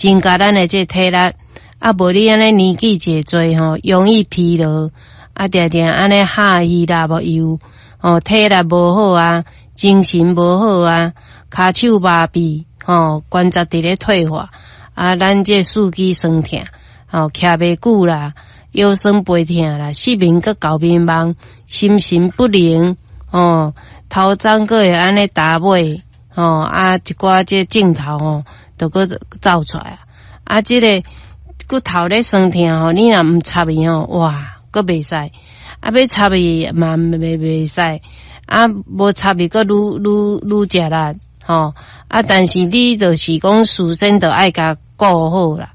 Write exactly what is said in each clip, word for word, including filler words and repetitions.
增加咱的這個體力。啊，無你按呢年紀濟濟吼，容易疲勞，啊，定定按呢下魚啦無油，吼，體力無好啊，精神無好啊，跤手麻痹，吼，關節佇咧退化，啊，咱這四肢痠疼，吼，徛袂久啦，腰酸背疼啦，失眠閣厚眠夢，心神不寧，吼，頭鬃閣會按呢焦尾，吼，啊，一寡這症頭吼，就閣走出來啊，啊，這個骨頭咧痠疼吼，你若毋插伊吼，哇，閣袂使，啊，欲插伊嘛袂袂使，啊，無插伊閣愈愈愈食力，吼，啊，但是你就是講事先就愛共顧好啦，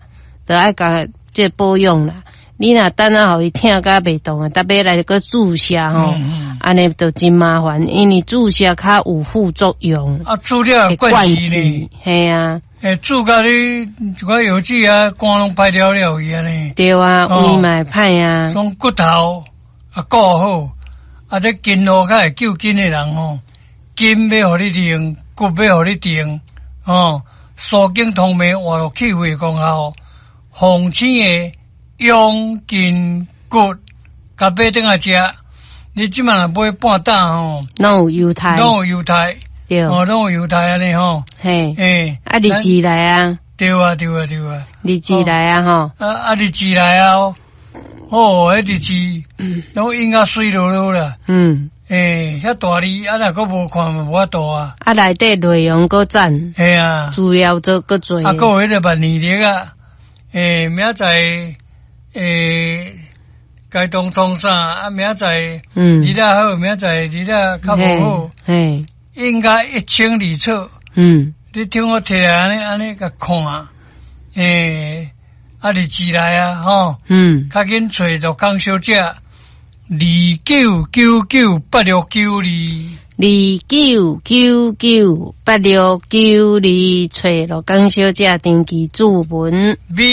就愛共這保養啦。你若等啊，予伊疼甲袂動啊，特別來閣注射吼，按呢就真麻煩，因為注射較有副作用。啊，注了會灌死呢？嘿啊。欸，注甲你一寡藥劑啊，肝攏歹了了去按呢。對啊，胃嘛會歹啊。講骨頭啊顧好，啊這筋路較會救筋的人吼，筋欲予你硬，骨欲予你定，吼，舒筋通脈活絡氣血功效，鳳星的養筋骨，共買轉來食。你這馬若買半擔吼，攏有猶太，攏有猶太。對，哦，攏有猶太按呢吼，嘿，欸，啊，日子來啊，對啊，對啊，對啊，日子來啊，吼，啊啊，日子來啊，哦，彼日子攏印甲媠漉漉啦，嗯，欸，遐大字啊，若閣無看嘛無法度啊，啊，內底內容閣讚，嘿啊，資料做閣濟，啊，閣有彼個萬年曆啊，欸，明仔載，欸，該當創啥啊？明仔載，嗯，日仔好，明仔載日仔較無好，嘿。應該一清二楚。嗯，你聽我提來按呢按呢共看，欸，啊日子來啊，吼，嗯，較緊揣陸康小姐，二九九九八六九二，二九九九八六九二，揣陸康小姐登記注文。